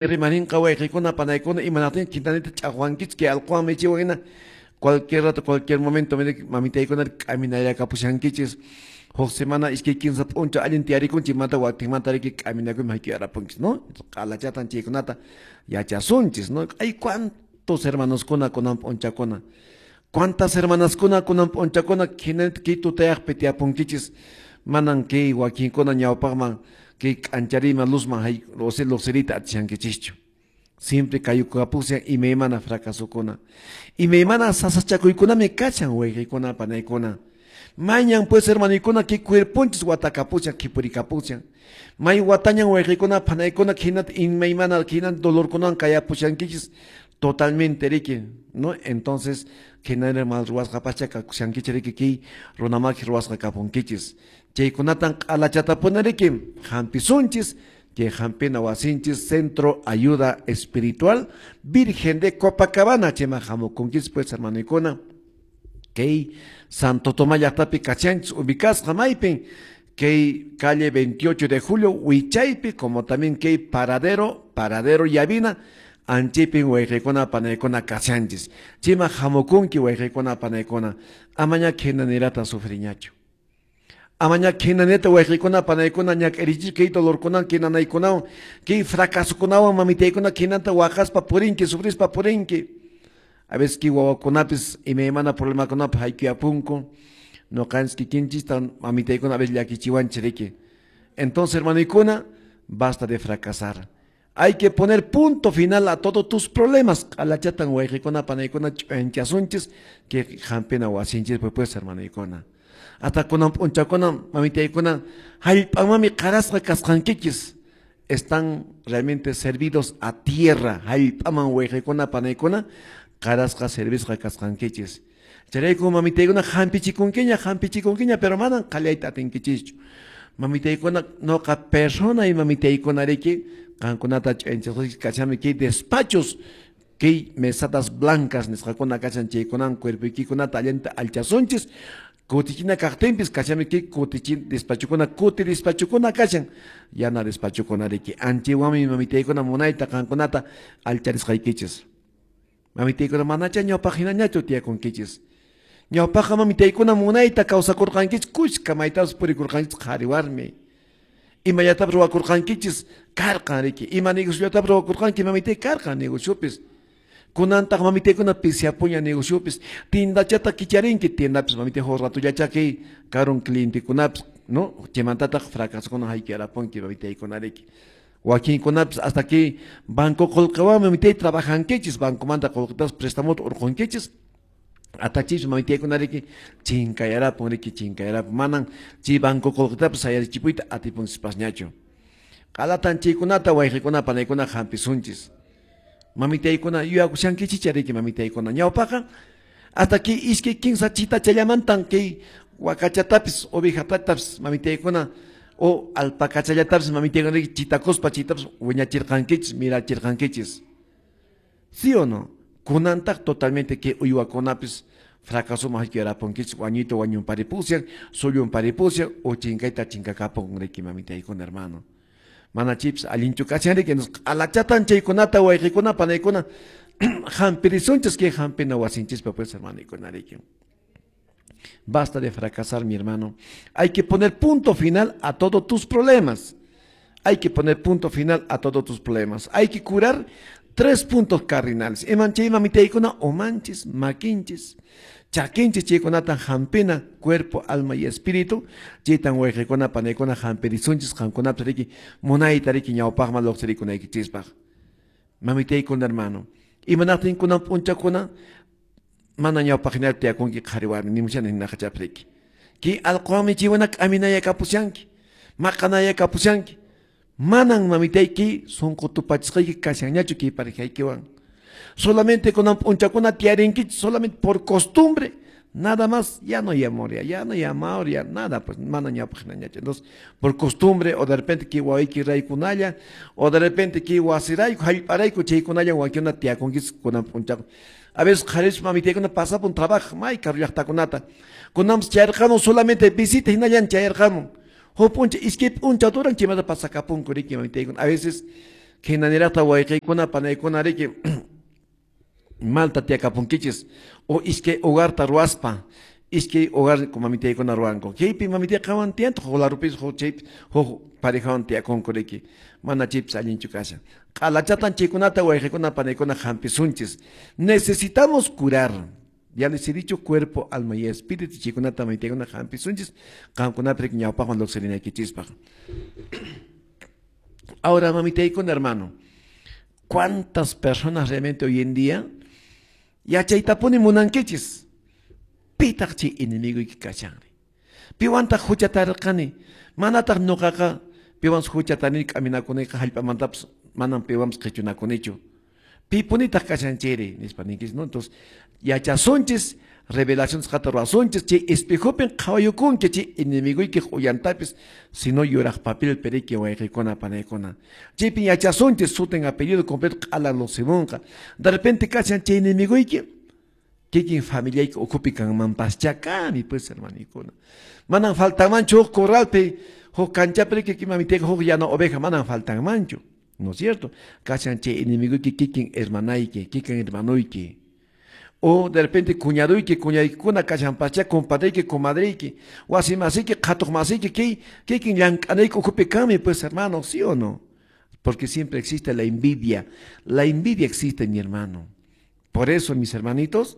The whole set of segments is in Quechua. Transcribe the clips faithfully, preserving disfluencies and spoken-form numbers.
Rimarinqa wayqikuna panaykuna imanaqtin kintanita ch'aqwankichik kay allquwan michiwan hina cualquier rato, cualquier momento mamitaykuna k'aminayakapushankichis huk semana iskay kinsa p'unchaw allin tiyarikunchik manta watinmanta riki k'aminakuyman hayk'uyarapunchis, ¿no? Q'alachatan chaykunata yachasunchis, ¿no? Ay, cuántos hermanoskuna kunan p'unchakuna, cuántas hermanaskuna kunan p'unchakuna hinanita kay tutayaqpi tiyapunkichis manan kay wakinkuna ñawpaqman kay k'anchariyman luzman luqsiriyta atishankichischu. Siempre kayukapushan imaymana fracasokuna, imaymana sasachakuykunami kachan wayqiykuna panaykuna. Mañan pues hermanoykuna kay cuerponchis watakapushan khipurikapushan. May watañan wayqiykuna panaykuna hinata imaymana hina dolorkunawan kayapushankichis totalmente riki, ¿no? Entonces hinari mal ruwasqa pacha kakushankichis riki kay runamaki ruwasqa kapunkichis. Chaykunatan q'alachatapuni riki hampisunchis kay hampina wasinchis Centro Ayuda Espiritual Virgen de Copacabana chayman hamukunkichis pues hermanoykuna. Kay Santo Tomás llaqtapi kachanchis ubicasqa maypin kay calle veintiocho de julio wichaypi como también kay paradero paradero Llavina anchipin wayqiykuna panaykuna kachanchis chayman hamukunki wayqiykuna panaykuna amaña khinanirata sufriñachu. Amaña khinaneta wayqiykuna panaykuna ñak'arichis kay dolorkunawan khinanaykunawan kay fracasokunawan mamitaykuna khinanta waqaspa purinki sufrispa purinki. A veces kay wawakunapis imaymana problemakunapi haykuyapunku ñuqanchis kikinchista mamitaykuna a veces llakichiwanchis riki. Entonces hermanoykuna, basta de fracasar. Hay que poner punto final a todos tus problemas. Q'alachatan wayqiykuna panaykuna ch'uyanchasunchis kay hampina wasinchis pues hermanoykuna. Hasta kunan p'unchakuna mamitaykuna hallp'amanmi qarasqa kasqankichis están realmente servidos a tierra hallp'aman wayqiykuna panaykuna qarasqa servisqa kasqankichis. Chayrayku mamitaykuna hampichikunkiña hampichikunkiña pero manan qallayta atinkichischu. Mamitaykuna noqa persona y mamitaykuna riki qankunata ch'uyanchasqaykichis kachami kay despachos kay mesadas blancas nisqakuna kachan chaykunan cuerpoykikunata allinta alchasunchis. Kutichina kaqtinpis kachami kay kutichin despachokuna kuti despachokuna kachan yana despachokuna riki anchiwanmi mamitaykuna munayta qankunata alcharisqaykichis. Mamitaykuna manacha ñawpaq hinañachu tiyakunkichis. Ñawpaqqa mamitaykuna munayta kawsakurqankichis kushka maytapas purikurqankichis qhari warmi. Imallatapis ruwakurqankichis karqan riki ima negociollatapas ruwakurqanki mamitay karqan negociopis. Kunantaq mamitaykuna pisyapuña negociopis tiendachata kicharinki tiendapis mamitay huk ratullacha kay karun clientekunapis, ¿no? Chaymantataq fracasokuna hayk'arapunki mamitaykuna riki. Wakinkunapis hasta kay banco qullqiwanmi mamitay trabajankichis bancomanta qullqitapas prestamota urqunkichis atachis mamitaykuna riki chinkayarapun riki chinkayarapun manan chay banco qullqitapas sayarichipuyta atipunchispasñachu. Q'alatan chaykunata wayqiykuna panaykuna hampisunchis. Mamitaykuna yuyakushankichis riki mamitaykuna ñawpaqa hasta kay iskay kinsa chitachallamantan kay wakachatapis ovejatapis mamitaykuna o alpacachallatapis mamitaykuna riki chitakuspa chitapas wiñachirqankichis mirachirqankichis. ¿Sí o no? Kunantaq totalmente kay uywakunapis fracasoman hayk'uyarapunkichis wañuyta wañunparipushan sullunparipushan o chinkayta chinkakapun riki mamitaykuna hermano. Mana chaypis allinchu kachan riki q'alachatan chaykunata wayqiykuna panaykuna hampirisunchis kay hampina wasinchispa pues hermanoykuna riki. Basta de fracasar, mi hermano. Hay que poner punto final a todos tus problemas. Hay que poner punto final a todos tus problemas. Hay que curar tres puntos cardinales. Iman chay mamitaykuna umanchis, makinchis, chakinchis chaykunata hampina, cuerpo, alma y espíritu. Chaytan wayqiykuna panaykuna hampirisunchis qankunapis riki munayta riki ñawpaqman luqsirikunaykichispaq. Mamitaykuna hermano. Imanaqtin kunan p'unchakuna mana ñawpaq hinapi tiyakunki qhari warmi nimushani hinaqachapi riki. Kay allquwanmi chaywana k'aminayakapushanki, maqanayakapushanki. Manan mamitayki sunqu tupachisqayki kashanñachu kay parejaykiwan. Solamente kunan p'unchakuna tiyarinkichis solamente por costumbre, nada más, ya no hay amor, ya, ya no hay amor, ya nada, pues mana ñawpaq hinañachu. Entonces, por costumbre, o de repente kay wawayki raykunalla, o de repente kay wasirayku, hallp'arayku chaykunalla wakinkuna tiyakunkichis kunan p'unchakuna. A veces qharis mamitaykuna pasapun trabajo, may karu llaqtakunata. Kunanpas chayarqamun solamente visita hinallan chayarqamun. Huk p'uncha iskay p'unchaw duran chaymanta pasakapunku riki mamitaykuna. A veces Khinaniraqta wayqiykuna panaykuna riki malta tiyakapunkichis o iskay hogarta ruwaspa iskay hogar mamitaykuna ruwanku. Chaypi mamitayqawan tiyantaq huk larupis huk chaypi huk parejawan tiyakunku riki. Mana chaypis allinchu kashan. Q'alachatan chaykunata wayqiykuna panaykuna hampisunchis. Necesitamos curar. Ya les he dicho cuerpo, alma y espíritu chaykunata mamitaykuna hampisunchis qamkunapi riki ñawpaqman lluqsirinaykichispaq. Ahora, mamitaykuna hermano, ¿cuántas personas realmente hoy en día yachaytapuni munankichis? Pitaq chay enemiguyki kashanri. Piwantaq huchatarqani? Manataq ñuqaqa piwanpas huchatani k'aminakunayqa hallp'amantapas manam piwanpas qhichunakunichu. Pipunitaq kashan chayri nispa ninkichis, ¿no? Entonces, yachasunchis, revelación nisqata ruwasunchis, chay espejopin qhawayukunki chay enemiguykiq uyantapis, sino yuraq papel periki wayqiykuna panaykuna. Chaypin yachasunchis sutin apellido completo q'ala lusimunqa. De repente kashan chay enemiguyki kikin familiayki ukhupi kanmanpaschá kani pues hermanikuna. Manan faltanmanchu huk corralpi, huk kanchapi riki mamitayqa huk yana oveja manan faltanmanchu. ¿No es cierto? Kashan chay enemiguyki kikin hermanayki, kikin hermanuyki. O de repente cuñaduyki, cuñaykuna kashanpaschá, compadreyki, comadreyki, wasi masiyki, qhatuq masiyki, kay kikin llank'anayki ukhupi kanmi pues hermano, ¿sí o no? Porque siempre existe la envidia. La envidia existe, mi hermano. Por eso, mis hermanitos,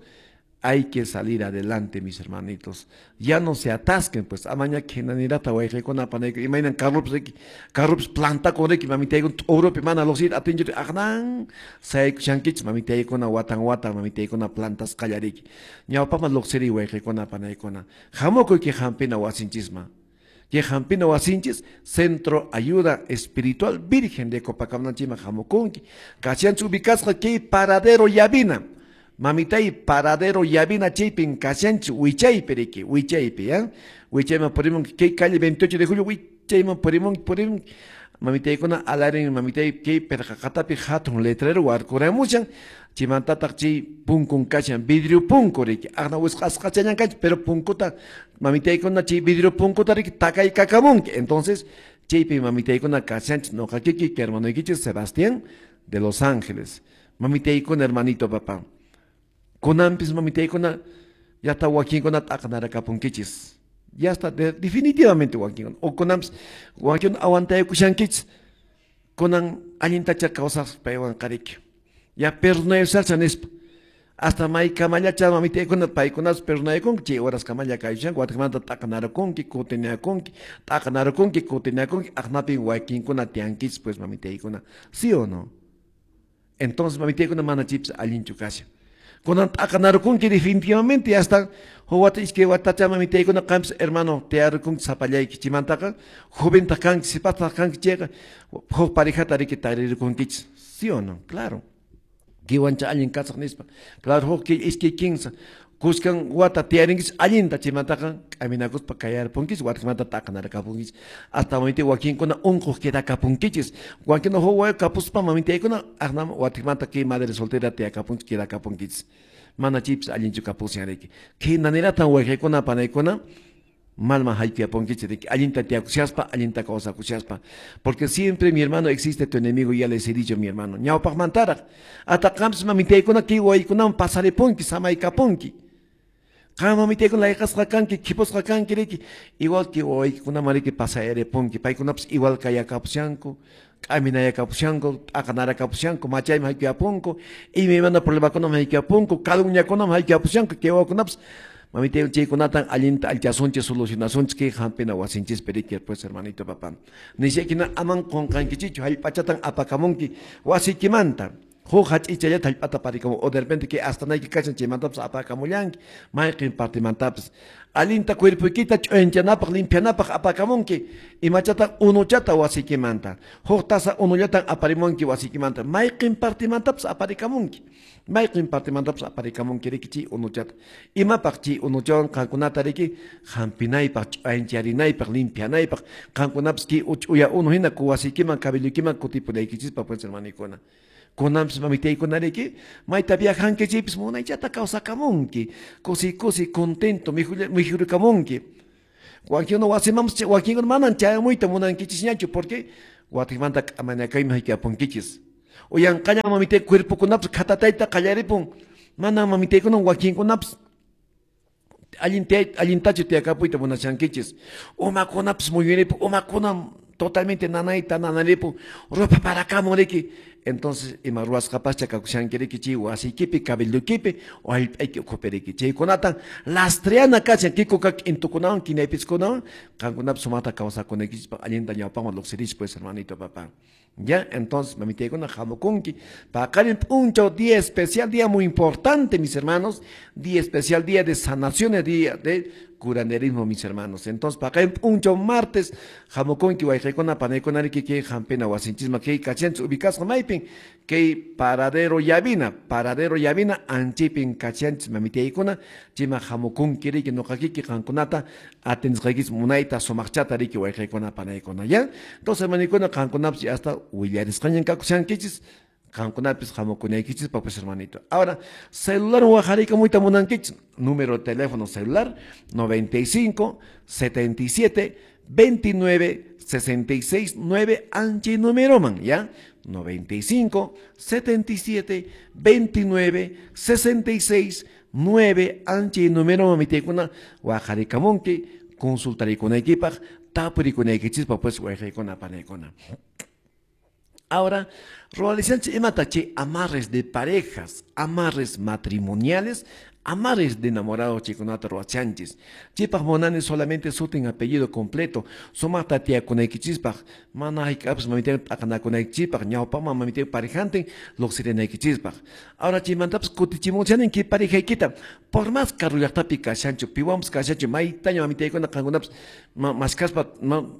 hay que salir adelante, mis hermanitos. Ya no se atasquen, pues. Amaña khinanirata wayqiykuna panayku. Imaynan carrupis riki, carrupis plantakun riki, mamitaykuna t'urupi mana luqsiyta atinchu aqnan saykushankichis mamitaykuna watan watan mamitaykuna plantasqalla riki. Ñawpaqman luqsiriy wayqiykuna panaykuna. Hamukuyki hampina wasinchisman. Kay hampina wasinchis Centro Ayuda Espiritual Virgen de Copacabana chayman hamukunki. Kashanchis ubicasqa kay Paradero Llavina. Mamitay Paradero Llavina chaypin kashanchis wichaypi riki, wichaypi, ¿ya? Wichayman purimunki kay calle veintiocho de julio wichayman purimunki purimunki. Mamitaykuna alarin mamitay kay perqaqatapi hatun letrero warkuramushan chaymantataq chay punkun kashan vidrio punku riki. Aqna wisq'asqachallan kanchis pero punkuta mamitaykuna chay vidrio punkuta riki takaykakamunki. Entonces chaypi mamitaykuna kashanchis noqa kiki hermanoykichis Sebastián de Los Ángeles. Mamitaykuna hermanito papá. Kunanpis mamitaykuna ya está wakinkuna t'aqnarakapunkichis. Ya está de, definitivamente wakinkuna. O kunanpis wakinkuna aguantaykushankichis. Kunan allintacha kawsaq paywan qariki. Ya perdonayusaqcha nispa. Hasta maykamallacha mamitaykuna paykunas perdonaykunki chay horas kamalla kayushanku watikmanta t'aqnarakunki kutinakunki t'aqnarakunki kutinakunki aqnapin wakinkuna tiyankichis pues mamitaykuna. ¿Sí o no? Entonces mamitaykuna mana chaypis allinchu kashan. Kunan t'aqnarakunki definitivamente ya está huk wata iskay watacha mamitaykuna qampis hermano tiyarikunki sapallayki chaymantaqa joventaq kanki sipastaq kanki chayqa huk parejata riki taririkunkichis. ¿Sí o no? Claro. Kiwancha allin kasaq nispa. Claro, huk iskay kinsa kuskan wata tiyarinkichis allinta chaymantaqa k'aminakuspa kayarpunkichis watikmanta t'aqnarakapunkichis. Hasta mamita wakinkuna unquq quedakapunkichis. Wakinkuna huk wawa kapuspa mamitaykuna aqnam watikmanta kay madre soltera tiyakapunchis quedakapunkichis. Mana chaypis allinchu kapushan riki. Khinaniratan wayqiykuna panaykuna malman haykuyapunkichis riki. Allinta tiyakushaspa, allinta kawsakushaspa. Porque siempre, mi hermano, existe tu enemigo, ya les he dicho, mi hermano. Ñawpaqmantaraq. Hasta qampis mamitaykuna kay waykunaman pasaripunki, samaykapunki. Qam mamitaykuna layqasqa kanki, khipusqa kanki riki. Igual que wawaykunaman riki pasayaripunki. Paykunapas igual kayakapushanku, k'aminayakapushanku, t'aqnarakapushanku, machayman haykuyapunku, imaymana problemakunaman haykuyapunku, calumniakunaman haykuyapushanku, kay wawakunapas mamitaykuna chaykunatan allinta alchasunchis, solucionasunchis kay hampina wasinchispi riki, pues hermanito papá. Nishaykina aman qunqankichichu, hallp'achatan apakamunki wasiykimanta. Huk hach'ichallata hallp'ata parikamun o de repente kay astanayki kashan chaymantapas apakamullanki mayqin partimantapis. Allinta cuerpoykita ch'uyanchanapaq limpianapaq apakamunki imachata unuchata wasiykimanta. Huk taza unullatan aparimunki wasiykimanta mayqin partimantapis aparikamunki. Mayqin partimantapis aparikamunki riki chay unuchata. Imapaq chay unuchawan qankunata riki hampinaypaq ch'uyancharinaypaq limpianaypaq qankunapis kay ch'uya unu hina wasiykiman cabelluykiman kutipunaykichispaq pues hermanikuna. Kunanpis mamitaykuna riki mayta viajanki chaypis munaychata kawsakamunki kusi kusi contento mijurikamunki. Wakinkuna wasimanpas wakinkuna manan chayamuyta munankichisñachu porque Watikmanta k'amanakaymi haykapunkichis. Uyanqaña mamitay cuerpokunapas khatatayta qallaripun. Mana mamitaykuna wakinkunapas allin allintachu tiyakapuyta munashankichis. Umakunapas muyuripun, umakuna totalmente nanayta nanaripun, ropa parakamun riki. Entonces ima ruwasqapascha kakushanki riki chay wasiykipi, cabelloykipi o hallp'ayki ukhupi riki. Chaykunatan lastreana kashan kikuka k'intukunawan kinaypiskunawan qankunapas sumaqta kawsakunaykichispaq allinta ñawpaqman lluqsirichis pues hermanito papá. Ya, entonces, mamitaykuna hamukunki. Paqarin p'unchaw día especial, día muy importante, mis hermanos. Día especial, día de sanaciones, día de curanderismo, mis hermanos. Entonces, paqarin p'unchaw martes, hamukunki wayqaykuna panaykuna riki kay hampina wasinchisman kay kachanchis ubicasqa maypin kay paradero Llavina, paradero Llavina anchipin kachanchis mamitaykuna, chima hamukunki riki nuqakiki qankunata atendisqaykichis munayta sumaqchata riki wayqaykuna panaykuna, ya. Entonces, hermanikuna qankunapas hasta willarisqañan kakushankichis, qankunapis hamukunaykichis pues hermanito. Ahora, celular waqhariykamuyta munankichis, número de teléfono celular noventa y cinco, setenta y siete, veintinueve, sesenta y seis, nueve, anchi número man, ya, noventa y cinco, setenta y siete, veintinueve, sesenta y seis, nueve, anchi número mamitaykuna waqharikamunki, consultarikunaykipaq, tapurikunaykichispaq pues wayqaykuna panaykuna. Ahora, ruwalishanchis imata chay amarres de parejas, amarres matrimoniales, amarres de enamorados chaykunata ruwachanchis. Chaypaq munani solamente sutin apellido completo, sumaqta tiyakunaykichispaq, mana hayk'apis mamitaywan t'aqanakunaykichispaq, ñawpaqman mamitaywan parejantin lluqsirinaykichispaq. Ahora chaymantapas kutichimuchanin kay parejaykita, por más karu llaqtapi kashanchu, piwanpas kashanchu, maytaña mamitaykuna qankunapas mashkaspa,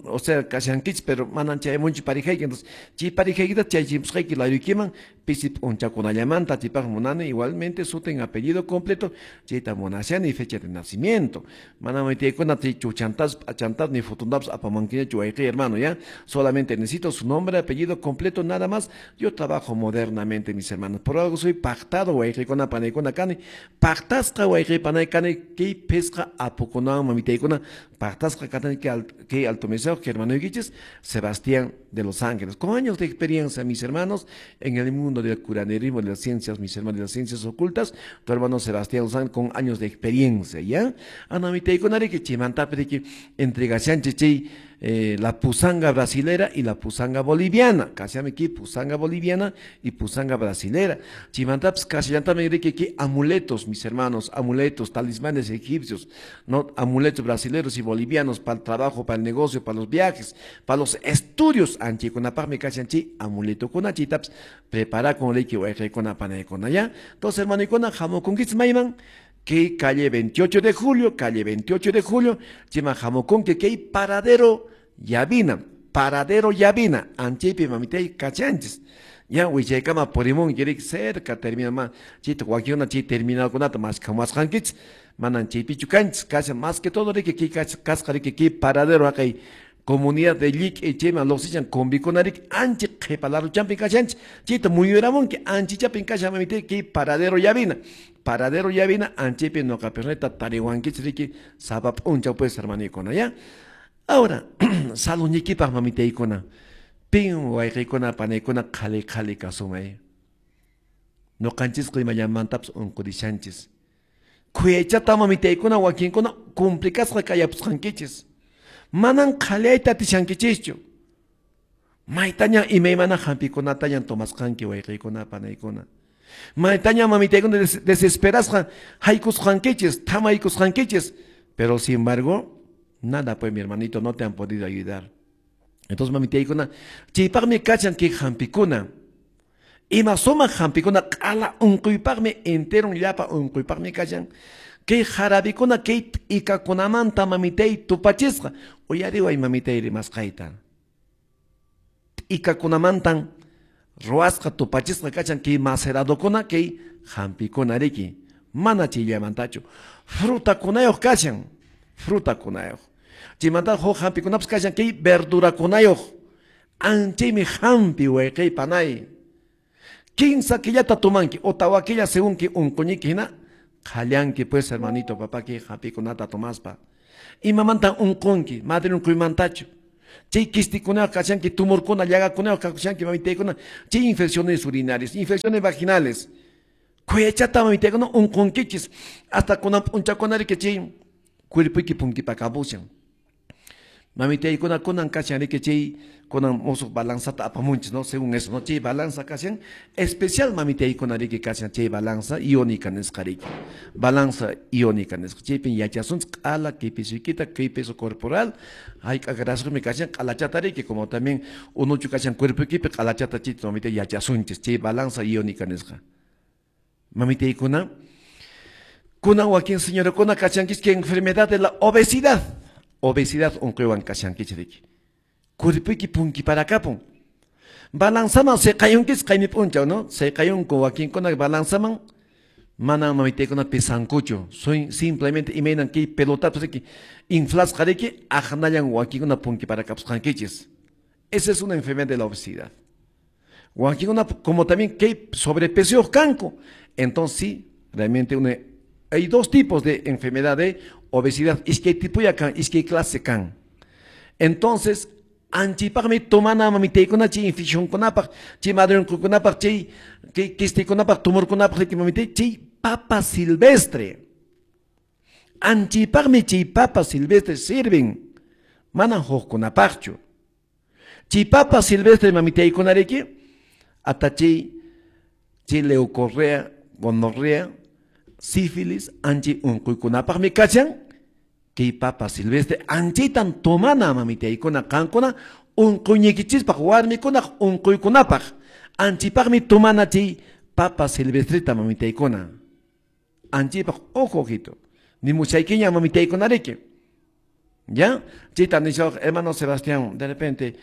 o sea, kashankichis, pero manan chayamunchu parejayki. Entonces, chay parejaykita chaychimusqayki layuykiman pisi p'unchakunallamanta, chaypaq munani igualmente sutin apellido completo, chayta munashani fecha de nacimiento. Mana mamitaykuna chay chuchantas, p'achantas, ni fotontapas apamankiñachu wayqi hermano, ya. Solamente necesito su nombre, apellido completo, nada más. Yo trabajo modernamente, mis hermanos. Por algo soy pactado wayqikuna panaykuna kani, pactasqa wayqi panay kani kay pisqa apukunawan mamitaykuna pactasqa katani kay alto meseo que hermanoykichis Sebastián de Los Ángeles. Con años de experiencia, mis hermanos, en el mundo del curanderismo, de las ciencias, mis hermanos, de las ciencias ocultas, tu hermano Sebastián Los Ángeles con años de experiencia, ¿ya? Anamitaykuna riki chaymantapi riki entregashanchis chay eh, la pusanga brasilera y la pusanga boliviana. Kashanmi aquí pusanga boliviana y pusanga brasilera. Chaymantapas kashallantami riki ki amuletos, mis hermanos, amuletos, talismanes egipcios, ¿no? Amuletos brasileros y bolivianos para el trabajo, para el negocio, para los viajes, para los estudios. Anchikunapaqmi kashan chay amuletokuna chaytapas prepara con riki wayqaykuna panaykuna, ya. Entonces, hermanoykuna, hamukunkichis mayman que calle veintiocho de julio, calle veintiocho de julio, chayman hamukunki kay paradero Llavina, paradero Llavina, anchaypi mamitay kachanchis. Ya wichaykama purimunki riki cerca termina ma, chayta wakinkuna chay terminalkunata maskhamuwasqankichis, manan chaypichu kanchis, kashan más que todo riki kay kasqa riki kay paradero haqay comunidad de Lliq'i chayman lluqsichan combikuna riki ancha qhipa laruchanpi kashanchis, chayta muyuramunki anchichapin kashan mamitay kay paradero Llavina, paradero Llavina anchaypi nuqa personata tariwankichis riki sapa p'unchaw pues hermanoykuna, ya. Ahora, saludniykipaq mamitaykuna, pin wayqaykuna panaykuna qhali qhali kasumay. Nuqanchisqa imallamantapas unqurishanchis. Khuyaychata mamitaykuna wakinkuna complicasqa kayapusqankichis. Manan qhaliyayta atishankichischu. Maytaña imaymana hampikunatañan tomasqanki wayqaykuna panaykuna. Maytaña mamitaykuna desesperasqa haykusqankichis, thamaykusqankichis. Pero sin embargo, nada pues mi hermanito, no te han podido ayudar. Entonces mamitaykuna, chaypaqmi kachan kay hampikuna. Ima sumaq hampikuna q'ala unquypaqmi enteron llapa unquypaqmi kashan. Kay jarabikuna kay t'ikakunamanta mamitay tupachisqa. Uyariway mamitay rimasqayta. T'ikakunamantan ruwasqa tupachisqa kachan kay maceradokuna kay hampikuna riki. Mana chayllamantachu. Frutakunayuq kashan. Frutakunayuq. Chaymanta huk hampikunapas kashan kay verdurakunayuq. Anchaymi hampi wayqay panay. Kinsa killata tumanki o tawa killa según ki unquñiki hina qhallanki pues hermanito papá kay hampikunata tomaspa. Imamantan unqunki, madre unquymantachu. Chay kistikuna kashanki, tumorkuna, llagakuna kashanki mamitaykuna, chay infecciones urinarias, infecciones vaginales. Kuyachata mamitaykuna unqunkichis, hasta kunan p'unchakuna riki chay cuerpoyki punkipakapushan. Mamitaykuna kunan kashan riki chay kunan musuq balanzata apamunchis, ¿no? Según eso, ¿no? Chay balanza kashan, especial mamitaykuna riki kashan chay balanza iónica nisqa riki. Balanza iónica nisqa. Chaypin yachasunchis q'ala kay pesoykita, kay peso corporal, hayk'a grasuymi kashan q'alachata riki, como también unuchu kashan cuerpoykipi q'alachata chayta mamita yachasunchis, chay balanza iónica nisqa. Mamitaykuna, kunan wakin señorakuna kashankichis que enfermedad de la obesidad. Obesidad unquywan kashankichis riki. Cuerpoyki punkiparakapun. Balanzaman seqayunkis qaymi p'unchaw, ¿no? Seqayunku wakinkuna balanzaman mana mamitaykuna pesankuchu. Soy simplemente imaynan kay pelotapas riki inflasqa riki aqnallan wakinkuna punkiparakapusqankichis. Esa es una enfermedad de la obesidad. Wakinkuna como también kay sobrepeso kanku. Entonces sí, realmente una, hay dos tipos de enfermedad de obesidad. Iskay tipuya kan, iskay clase kan. Entonces, anchipaqmi tomana mamitaykuna chay infeccionkunapaq, chay madrunkunapaq, chay kistikunapaq, tumorkunapaq riki mamitay, chay papa silvestre. Anchipaqmi chay papa silvestre sirven, manan hukkunapaqchu. Chay papa silvestre mamitaykuna riki, hasta chay, chay leucorrea, gonorrea, sífilis, anchi unquykunapaqmi kachan, kay papa silvestre anchitan tomana mamitaykuna qankuna unquyñiykichispaq warmikunaq unquykunapaq anchipaqmi tomana chay papa silvestreta mamitaykuna anchipaq ojo ojito ni muchaykiña mamitaykuna riki. ¿Ya? Chayta nishawaq hermano Sebastián, de repente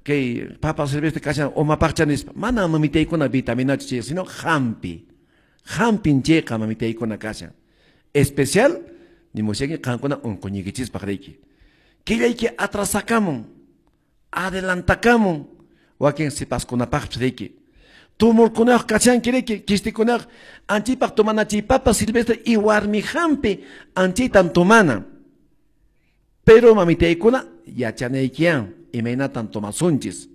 kay papa silvestre kashan umapaqcha nispa, mana mamitaykuna vitaminachu chay, sino hampi. Hampin chayqa mamitaykuna kashan. Especial ni musyaki qankuna unquyñiykichispaq riki. Killayki atrasakamun, adelantakamun, wakin sipaskunapaqpis riki. Tumorkunaq kashanki riki, kistikunaq anchipaq tomana chay papa silvestre y warmi hampi anchitan tomana. Pero mamitaykuna yachanaykiyan imaynatan tomasunchis.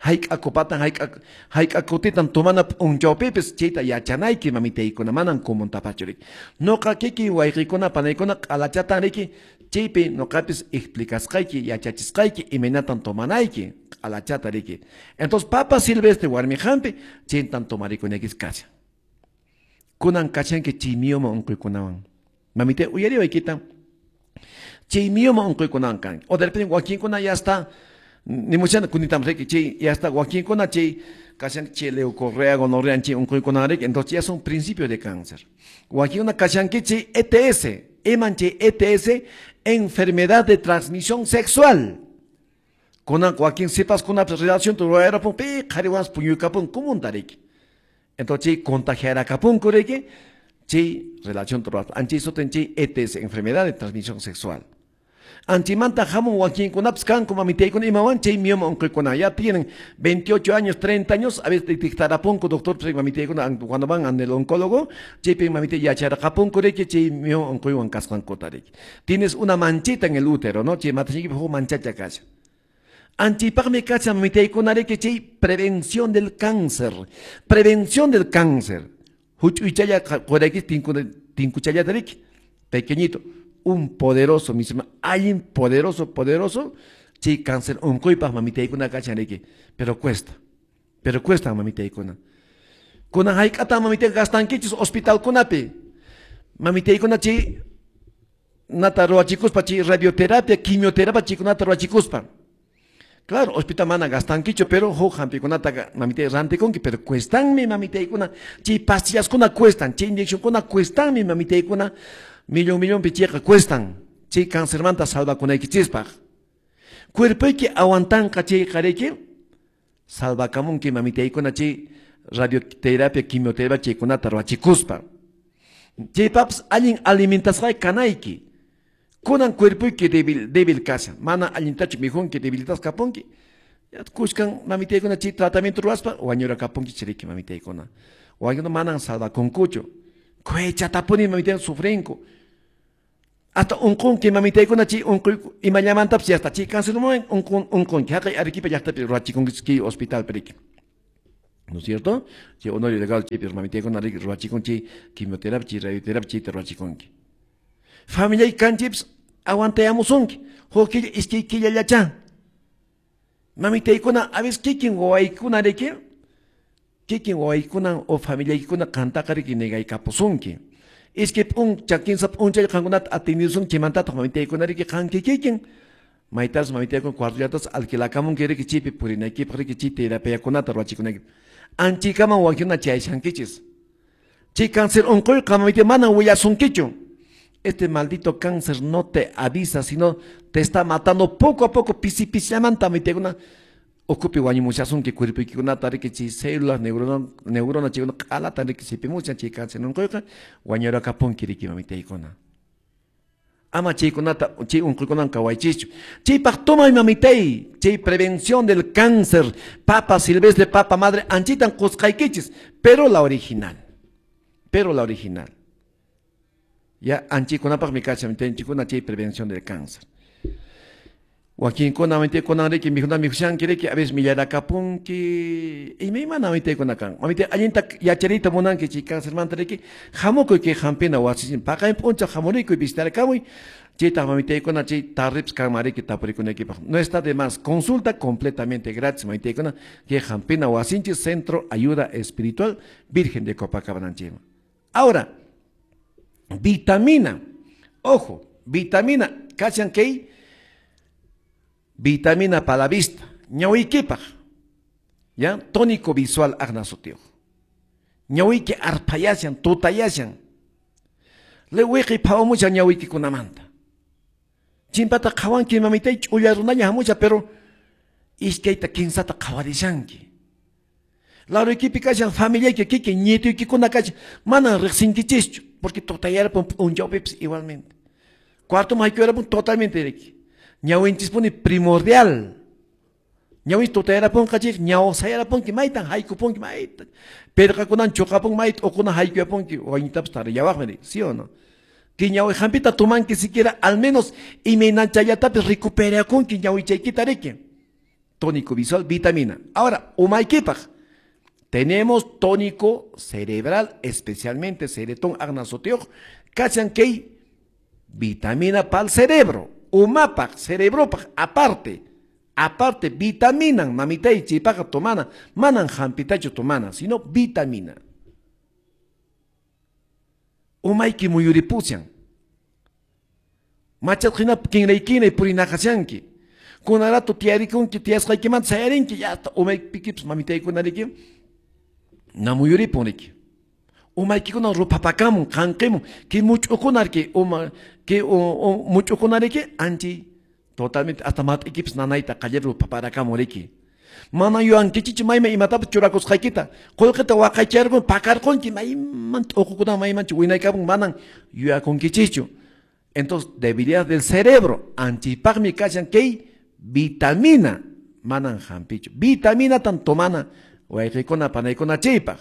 Hayk'a copatan, hayk'a hayk'a kutitan tomana p'unchawpipis chayta yachanayki mamitaykuna manan kumuntapachu riki. Noqa kiki wayqiykuna panaykuna q'alachatan riki chaypi noqapis explicasqayki yachachisqayki imaynatan tomanayki q'alachata riki. Entonces papa silvestre warmi hampi chaytan tomarikunaykichis kashan. Kunan kashanki chay mioma unquykunawan. Mamitay uyariwaykita. Chay mioma unquykunawan kanki. O de repente wakinkuna ya está ni muchana kunitam riki chay ya está wakinkuna chay kashan chay leucorrea gonorrea chay unquykuna riki, entonces ya son principios de cáncer. Wakinkuna kashanki chay E T S, eman chay E T S, enfermedad de transmisión sexual. Kunan wakin sipas kuna relación ruwarapun pi qhariwan puñuykapun kumunta riki. Entonces chay contagiarakapunku riki chay relación ruwarapun. Anchay sutin chay E T S, enfermedad de transmisión sexual. Anchimanta hamun wakinkunapis kanku mamitaykuna imawan chay mioma unquykuna ya tienen veintiocho años, treinta años, a veces detectarapunku doctor mamitaykuna cuando van al oncólogo, chaypi mamitay yacharaqapunku riki chay mioma unquywan kasqankuta riki. Tienes una manchita en el útero, ¿no? Chay matachiykipi huk manchacha kashan. Anchipaqmi kashan mamitaykuna riki chay prevención del cáncer, prevención del cáncer. Huch'uychalla quraykichis tinkuchallata riki, pequeñito. Un poderoso mismo, alguien poderoso, poderoso, sí, cáncer, unquypaq mamitaykuna kashan riki, pero cuesta, pero cuesta mamitaykuna. Kunan hayk'ata mamitay gastankichis hospitalkunapi, mamitaykuna chay nata ruwachikuspa, chay radioterapia, quimioterapia chaykunata ruwachikuspa. Claro, hospital mana gastankichu, pero huk hampikunata mamitay rantikunki, pero cuestanmi mamitaykuna, chay pastillaskuna cuestan, chay inyeccionkuna cuestanmi mamitaykuna, millón millón pichiqa cuestan, chay cancermanta salvakunaykichispaq. Cuerpoyki aguantanqa chayqa riki, salvakamunki mamitaykuna chay radioterapia, quimioterapia chaykunata ruwachikuspa. Chaypapas allin alimentasqayki kanayki. Kunan cuerpoyki débil, débil kashan, mana allintachu mikhunki, debilitasqa kapunki. Kushkan mamitaykuna chay tratamiento ruwaspa wañurakapunki chiriki mamitaykuna. Wañuna manan salvakunkuchu. Kuechatapuni mamitaykuna sufrinku. Hasta unqunki mamitaykuna chay unquy imallamantapas hasta chay cáncer unqun unqunki haqay Arequipa llaqtapi ruwachikunki hospital periki. ¿No es cierto? Chay Honorio Delgado chaypi mamitaykuna ruwachikun chay quimioterapia, chay radioterapia chayta ruwachikunki. Familiay kanchips aguantayamusunki. Huk killa iskay killallacha. Mamitaykuna a veces kikin wawaykuna riki kikin wawaykuna o familiaykuna qantaqa riki negaykapusunki. Iskay p'uncha kinsa p'unchay qankunata atendisun chaymantataq mamitaykuna riki qan kikikin maytas mamitaykuna cuartollatas alquilakamunki riki chaypi purinaykipaq riki chay terapiakunata ruwachikunayki. Anchikaman wankina chayshankichis. Chay cáncer unquyqa mamitay manan willasunkichu. Este maldito cáncer no te avisa, sino te está matando poco a poco, pisi pisillamanta mamitaykuna ukupi wañumushasunki cuerpuykikunata riki chay células, neurona, neurona chaykuna q'alata riki sipimushan chay cáncer unquyqa wañurakapunki riki mamitaykuna. Ama chaykunata chay unquykunan kawaychischu. Chaypaq tumay mamitay, chay prevención del cáncer, papa silvestre, papa madre, anchitan qusqaykichis, pero la original, pero la original. Ya anchikunapaqmi kashan anchikuna chay prevención del cáncer. Wakinkuna mamitaykuna riki mikhuna mikhushanki riki a veces millarakapunki imaymana mamitaykuna kan. Mamitay allinta yachariyta munanki chay cáncermanta riki hamukuy kay hampina wasichin paqarin p'unchaw hamurikuy visitarkamuy chaytaq mamitaykuna chay tarrips kanman riki tapurikunaykipaq. No está de más, consulta completamente gratis mamitaykuna kay hampina wasinchis Centro Ayuda Espiritual Virgen de Copacabana. Ahora, vitamina, ojo, vitamina, kashan kay vitamina para la vista, ñawikipaq, ya, tónico visual aqna sutiyuq. Ñawiki arpayashan, tutayashan. Liwiqi phawamushan ñawikikunamanta. Chimpata qhawanki mamitay ch'ulla runaña hamusha, pero iskayta kinsata qhawarishanki. Laruykipi kashan familiayki kikin ñituykikuna kashan, manan riqsinkichischu, porque tutayarapun p'unchawpipis igualmente. Cuartoman haykuyarapun totalmente riki. Ñawinchispuni primordial. Ñawin tutayarapunqa chik, ñawsayarapunki, maytan haykupunki, mayta. Pirqakunan chuqapun, mayta uquna haykuyapunki, wañuytapas tarillawaqmi, ¿sí o no? Que ñawi hampita tumanki siquiera, al menos imaynachallatapis recuperakunki ñawichaykita riki. Tónico visual, vitamina. Ahora, umaykipaq. Tenemos tónico cerebral, especialmente ceretón aqna sutiyuq, kashan kay vitamina pa'l cerebro. Umapaq, cerebropaq, aparte, aparte, vitaminan, mamitay, chaypaqa tomana, manan hampitachu tomana, sino vitamina. Umayki muyuripushan. Machat hina kinray kinray purinaqashanki. Kunarato tiyarikunki, tiyasqaykimanta sayarinki, ya hasta umaykipis mamitaykuna riki, namuyuripun riki. Umaykikuna rupapakamun, qanqimun, kay much'ukuna riki, uma, kay much'ukuna riki, anchi totalmente hasta mat'ikipis nanayta qallar rupaparakamun riki. Mana yuyankichichu mayman imatapas churakusqaykita, qullqita waqaycharqun, pakarqunki, mayman t'uqukuna maymanchu winaykapun, manan yuyakunkichichu. Entonces, debilidad del cerebro, anchipaqmi kashan kay vitamina, manan hampichu. Vitamina tan tomana, wayqikuna panaykuna chaypaq.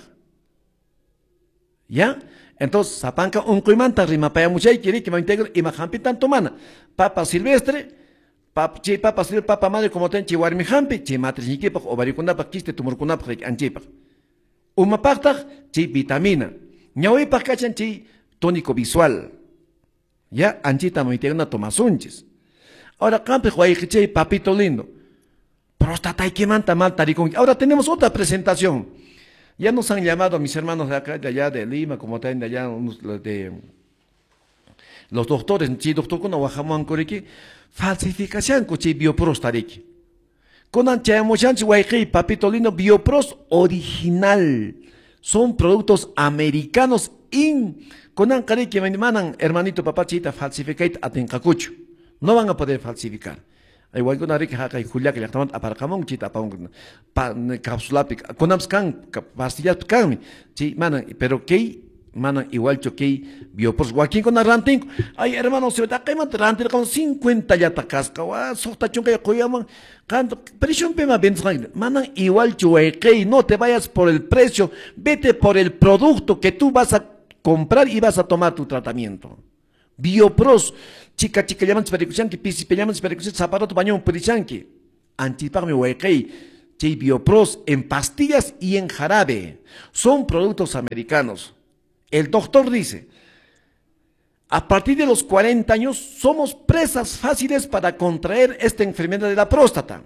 ¿Ya? Entonces, sapanka unquymanta rimapayamushayki riki mamitaykuna ima hampitan tomana. Papa silvestre, pap, chay papa silvestre, papa madre como ten chay warmi hampi, chay matrisniykipaq, ovariokunapaq, quiste tumorkunapaq riki anchipaq. Umapaqtaq chay vitamina. Ñawipaq kashan chay tónico visual. ¿Ya? Anchita mamitaykuna tomasunchis. Ahora, qampiq wayqichay papito lindo. Prostataykimanta mal tarikunki. Ahora tenemos otra presentación. Ya nos han llamado mis hermanos de acá, de allá de Lima, como también de allá, de los doctores, chi doctorkuna wahamuwanku riki, falsificashanku chay bioprosta riki. Kunan chayamushanchis wayqiy papito lindo, bioprost original. Son productos americanos in. Kunanqa riki manan hermanito papá chayta falsificayta atinqakuchu. No van a poder falsificar. Waykuna riki haqay Juliaca llaqtamanta aparqamun chayta apamun cápsulapi kunanpas kan pastillaspi kanmi chay manan, pero kay manan igualchu kay bioprost wakinkuna rantinku. Ay hermano, taqaymanta rantirqamun cincuenta llata kasqa, wa suqta chunka quyaman qan preciopima vendesqanki. Manan igualchu wayqiy, no te vayas por el precio, vete por el producto que tú vas a comprar y vas a tomar tu tratamiento. Biopros, chica chica llaman chiparikushanki, pisi llaman chiparikushanki, zaparato bañón purishanki. Anchipaqmi wayqey, chay Biopros en pastillas y en jarabe. Son productos americanos. El doctor dice, a partir de los cuarenta años somos presas fáciles para contraer esta enfermedad de la próstata.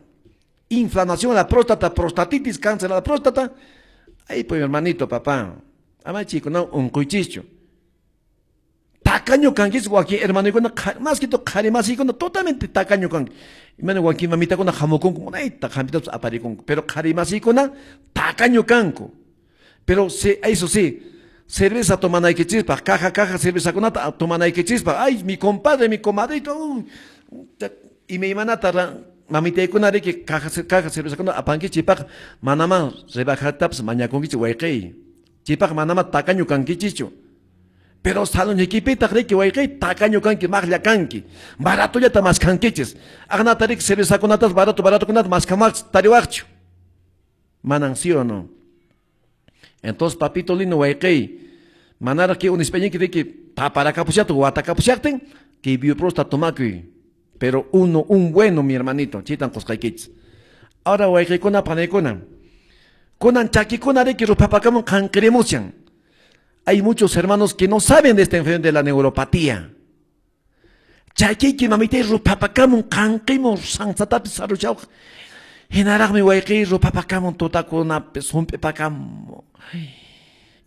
Inflamación a la próstata, prostatitis, cáncer a la próstata. Ahí pues hermanito, papá. Ama chico, no, un cuichicho. Tacaño kanquis, wakin hermano, más que todo, qharimasikuna, totalmente tacaño kanki. Imana wakin mamitakuna hamukunku, munayta hampitapas aparikunku. Pero qharimasikuna, tacaño kanku. Pero sí, eso sí, cerveza tomanaykichispaq, caja, caja, cervezakunata tomanaykichispaq. Ay, mi compadre, mi comadrito, uh, y mi imanata mamitaykuna riki caja, caja cervezakunata apankichipaq, manama rebajatapas mañakunkichik wayqey. Chipaq manama tacaño kankichichu. Pero salonikipitaq riki wayqey tacaño kanki, maqlla kanki. Baratollata maskankichis. Aqnata riki cervezakunatas barato, baratokunata maskamaqchis tariwaqchu. Manan sí o no. Entonces, papito lindo wayqey, manaraq que unispañinki riki paparakapushaqtin, watakapushaqtin, que Bioprosta tomakuy. Pero uno, un bueno, mi hermanito, chitan qusqaykichis. Ahora wayqeykuna panaykuna, kunan chakikuna riki rupapakamun qanqirimushan. Hay muchos hermanos que no saben de esta enfermedad de la neuropatía. Chakiyki mamitay rupapakamun qanqimun sansatapis saruchawaq. Hinaraqmi wayqey rupapakamun tutakunapi sump'ipakamun.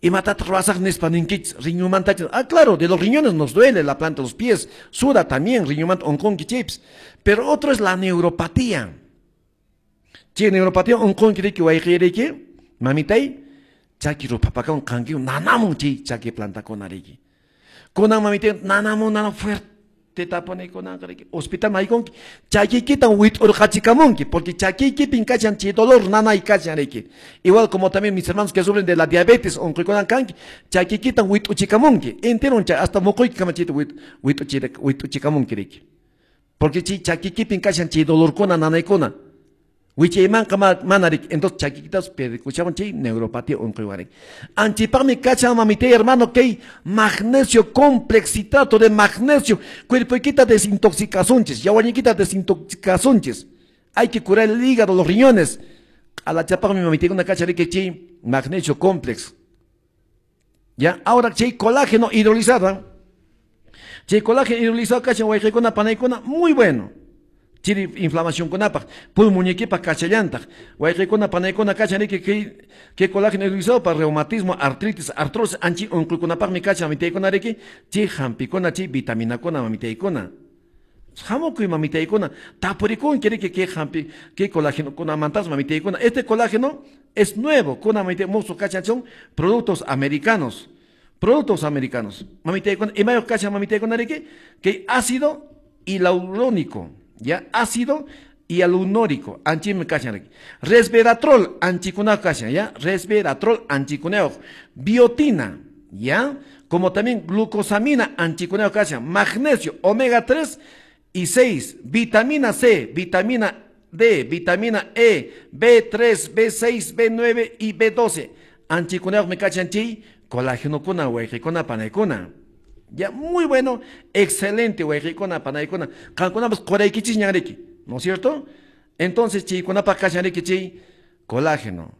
Imatataq ruwasaq nispa ninkichis riñonmantachis. Ah, claro, de los riñones nos duele la planta de los pies, suda también, riñonmanta onqonki chaypis. Pero otro es la neuropatía. Chay neuropatía onqonki riki wayqey riki, mamitay, chaki rupapakamun qankimun nanamun chay chaki plantakuna riki. Kunan mamitay nanamun nanamun fuerte. Tapone kunan riki. Hospital maykunki chakiykita wit'urqachikamunki, porque chakiykipin kashan chay dolor nanay kashan riki. Igual como también mis hermanos que sufren de la diabetes onquykunan kanki, chakiykita wit'uchikamunki, entero hasta muquyki kamachita wit'uchikamunki riki. Porque chay chakiykipin kashan chay dolorkuna nanaykuna. Wichaymanqa mana riki. Entonces chakikitas perikuchawan chay neuropatía onquywan riki. Anchipaqmi kashan mamitay hermano kay magnesio complex, citrato de magnesio, cuerpoykita desintoxicasunchis, yawarniykita desintoxicasunchis. Hay que curar el hígado, los riñones. Alachapaqmi mamitaykuna kashan riki chay magnesio complex. Ya, ahora chay colágeno hidrolizado. Chay colágeno hidrolizado kashan wayqaykuna panaykuna muy bueno. Chiri inflamación kunapaq, pulmonikipaq kachallantaq, wayqaykuna panaykuna kachan riki kay kay colágeno hidrolizado para reumatismo, artritis, artrosis, anchi unquykunapaqmi kachan mamitaykuna riki, chay hampikuna, chay vitaminakuna mamitaykuna. Hamukuy mamitaykuna, tapurikunki riki kay hampi, kay colágenokunamantas mamitaykuna. Este colágeno es nuevo, kuna mamitay musuq kachan son productos americanos, productos americanos. Mamitaykuna, imayuq kachan mamitaykuna riki, kay ácido hialurónico. Ya, ácido hialurónico, anchim kashan riki. Resveratrol, anchikunaq kashan, ya, resveratrol, anchikunaq. Biotina, ya, como también glucosamina, anchikunaq kashan, magnesio, omega tres y seis, vitamina C, vitamina D, vitamina E, B tres, B seis, B nueve y B doce. Anchikunaq me kachan chay, colágenokuna, wayqikuna, panaykuna. Ya, muy bueno, excelente, wayqikuna, panaykuna. Qankunapas quraykichis ñanriki, ¿no es cierto? Entonces, chaykunapaq kashan riki chay colágeno.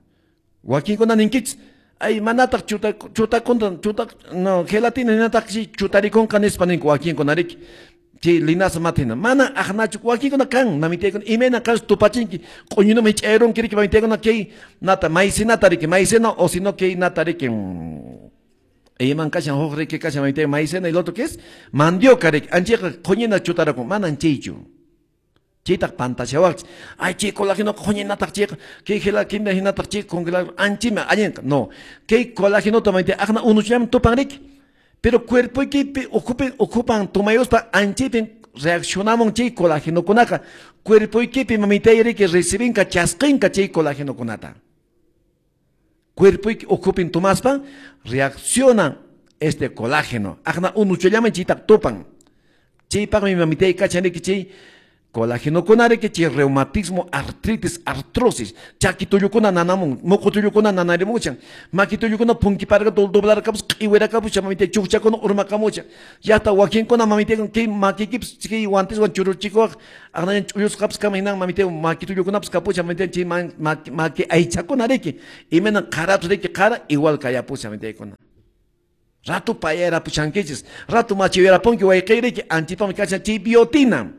Wakinkuna ninkichis, ay manataq chuta chutakunta chuta no gelatina hinataq chay chutarikunqa nispa ninku wakinkuna riki. Chay linaza matina. Mana aqnachu wakinkuna kan mamitaykuna imayna kas tupachinki q'uñunaman hich'ayrunki riki mamitaykuna kay nata maicenata riki, maicena o sino kay nata riki. Iman kashan huk riki kashan mamitay maicena y el otro que es mandioca riki, anchayqa q'uñina chutarakun, manan chaychu. Chaytaq pantashawaqchis. Ay chay colágeno q'uñinataq chayqa, kay gelatina hinataq chay congelado anchima allinqa. No, kay colágenota mamitay aqna unuchallaman tupan riki. Pero cuerpoykipi ocupen ocupan tumayuspa anchaypin reaccionamun chay colágenokunaqa. Cuerpoykipi mamitay riki recibinqa chasqinqa chay colágenokunata. Cuerpoyki ukupin tumaspa reacciona este colágeno. Aqna unuchallaman chaytaq tupan. Chaypaqmi mamitay kachan riki chay Colágeno riki chay reumatismo, artritis, artrosis, chaki tullukuna nanamun, muqu tullukuna nanarimuchan, maki tullukuna punkiparqa doblarkapus, q'iwirakapucha mamita chukchakuna urmakamucha, llaqta wakinkuna mamita kay makikipis kay guanteswan churuchikuwaq aqnayan ch'ullusqapis kama hinan mamita maki tullukunapas kapucha mamita chay maki aychakuna riki, imayna qarapis riki qara igual kayapusha mamitakuna. Ratu payarapuchankichis, ratu machiyarapunki wayqi anchipami kachan chay biotina.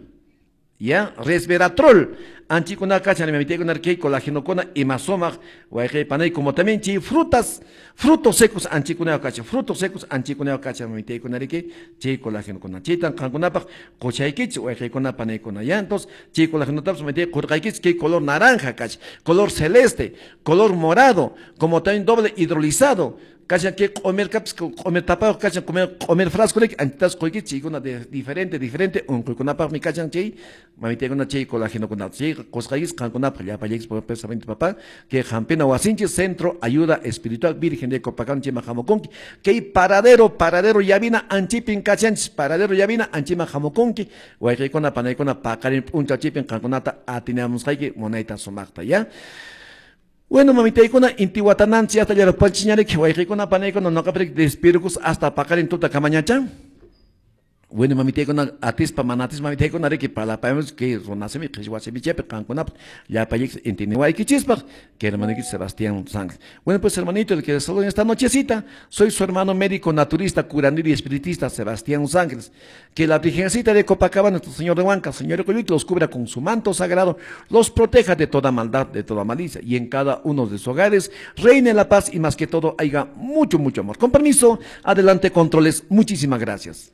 Ya, resveratrol, anchikuna kachan mamitakuna kay colágenokuna ima sumaq wayqi panay como también chay frutas, frutos secos anchikuna kachan, frutos secos anchikuna kachan mamitakuna riki chay colágenokuna. Chaytan qankunapaq quchaykichis wayqikuna panaykuna. Ya, entonces chay colágenotapas mamitay qurqaykichis kay color naranja kachan, color celeste, color morado, como también doble hidrolizado. Kachan que comer caps, comer tapado, kachan comer, comer frasco, antitas qoyki chaykuna de diferente, diferente, unquykunapaqmi kachan chay, mamitakuna chay colágenokuna, chay qusqaykichis qankunapaq llapallaykichis pensamiento papá, que hampina wasinchis, Centro Ayuda Espiritual Virgen de Copacabana chayman hamukunki, kay paradero, paradero llavina anchipin kachanchis, paradero llavina anchiman hamukunki, wayqiykuna panaykuna paqarin p'unchaw chaypin qankunata atinamusqayki munayta sumaqta, ya. Bueno, mamitaykuna, inti watananchis hasta llarupanchiñariki, wayqiykuna panaykuna noqapiriki despirukus hasta paqarin tuta kamañacha. Bueno, mamitaykuna atispa mana atispa mamitaykuna riki parlapayamos que runasimi qhichwa simichapi qankunapaq llapallaykichis intiniwaykichispaq que hermanito Sebastián Sánchez. Bueno, pues hermanito, el que les saludo en esta nochecita, soy su hermano médico naturista, curandero y espiritista Sebastián Sánchez. Que la Virgencita de Copacabana, nuestro Señor de Huanca, Señor de Coyuc, los cubra con su manto sagrado, los proteja de toda maldad, de toda malicia, y en cada uno de sus hogares reine la paz y más que todo haya mucho, mucho amor. Con permiso, adelante controles, muchísimas gracias.